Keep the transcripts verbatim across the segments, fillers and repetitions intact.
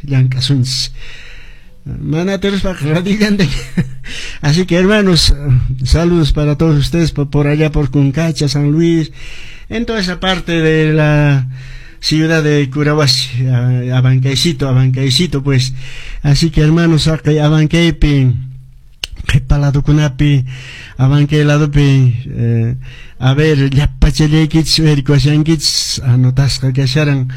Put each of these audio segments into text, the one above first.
llank'asunchis. Mana atiruspaqa radillanta. Así que, hermanos, saludos para todos ustedes por, por allá por Cuncacha, San Luis, en toda esa parte de la ciudad de Curahuasi, Abancaycito, Abancaycito, pues. Así que, hermanos, haqay Abancaypi, qhipa ladukunapi, Abancay ladupi, eh, a ver, llapachallaykichis uyarikuwashankichis, anotasqa kasharan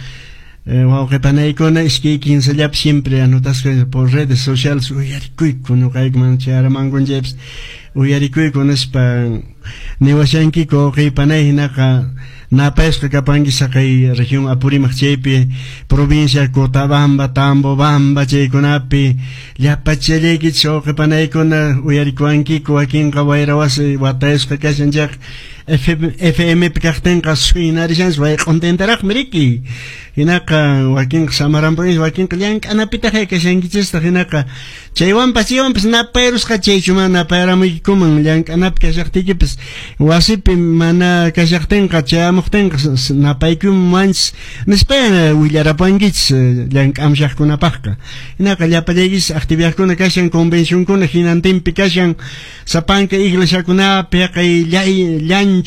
eh, wawqipanaykuna iskay kinsallapi siempre anotasqa por redes sociales uyarikuyku ñuqayku chayaramankunchaypas uyarikuyku nispa niwashankiku wawqipanay. Hinaqa napayasqa kapanki saqay región Apurímac chaypi, provincia Cotabamba, Tambobamba chaykunapi llapachallaykichis wawqipanaykuna uyarikuwankiku. Wakinqa wayra wasi watayasqa kashan chayqa F M pi kaqtinqa suynarishanchis wayq'untintaraqmi riki. Hinaqa wakinqa samarampunis, wakinqa llank'anapitaq kashankichistaq. Hinaqa chaywanpas chaywanpas napayrusqa chaychu mana napayramuykikuman llank'anapi kashaqtiykipas, wasipi mana kashaqtinqa chayamuqtinqa napaykumanchis nispa willarapuwankichis llank'amshaqkunapaqqa. Hinaqa llapallaykichis actividadkuna kashan, convencionkuna hinantinpi kashan, sapanka iglesiakunapi haqay llanchu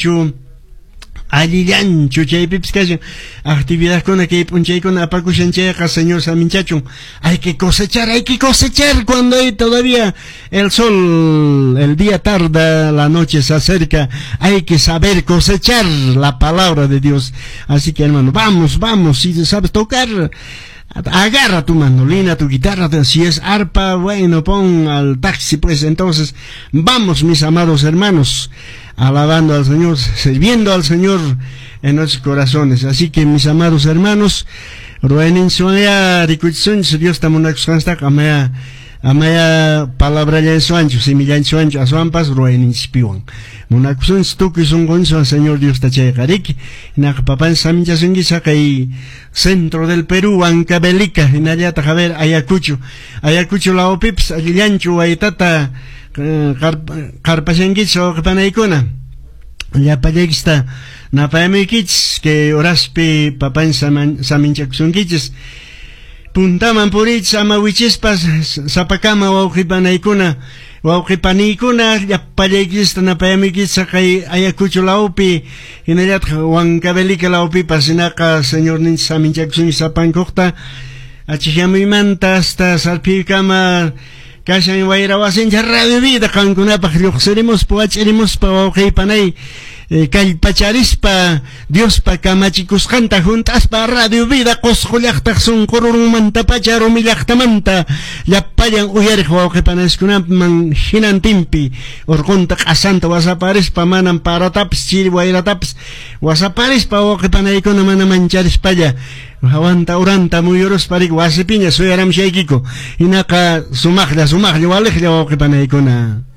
allillanchu chaypipis kashan actividadkuna kay p'unchaykuna apakushan chayqa Señor saminchachun. Hay que cosechar, hay que cosechar cuando hay todavía el sol. El día tarda, la noche se acerca, hay que saber cosechar la palabra de Dios. Así que, hermano, vamos, vamos. Si sabes tocar, agarra tu mandolina, tu guitarra, si es arpa, bueno, pon al taxi, pues entonces, vamos, mis amados hermanos, alabando al Señor, sirviendo al Señor en nuestros corazones. Así que, mis amados hermanos, ruwayninchikwan rikuchisunchis Diosta munakusqanchiktaqa, amaya amaya palabrallanchikwanchu, simillanchikwanchu, aswanpas ruwayninchikpiwan munakusunchis tukuy sunqunchikwan Señor Diosta chayqa riki. Hinaqa papanchis saminchasunkichis haqay centro del Perú, Huancavelica, hinallataq a ver Ayacucho, Ayacucho lawpipas allillanchu waytata qarpashankichis wawqipanaykuna. Llapallaykichista napayamuykichis kay horaspi papanchis saminchakusunkichis. Puntaman puriychis ama wichispas sapakama wawqipanaykuna, wawqipaniykuna, llapallaykichista napayamuykichis haqay Ayacucho lawpi hinallataq Huancavelica lawpipas. Hinaqa Señorninchis saminchakusunchis sapankuqta achikyamuymanta hasta sarpiykama kashan wayra wasinchik Radio Vida qankunapaq lluqsirimuspa wach'irimuspa wawqipanay kallpacharispa Diospa kamachikusqanta hunt'aspa Radio Vida Qusqu llaqtaq sunqurunmantapacha rumi llaqtamanta llapallan uyariq wawqipanaskunaman hinantinpi urqunta q'asanta wasaparispa manam paratapis chiri wayratapis wasaparispa wawqipanaykuna mana mancharispalla hawanta uranta muyuruspa riki wasipiña suyaramushaykiku. Hinaqa sumaqlla sumaqlla waliqlla wawqipanaykuna.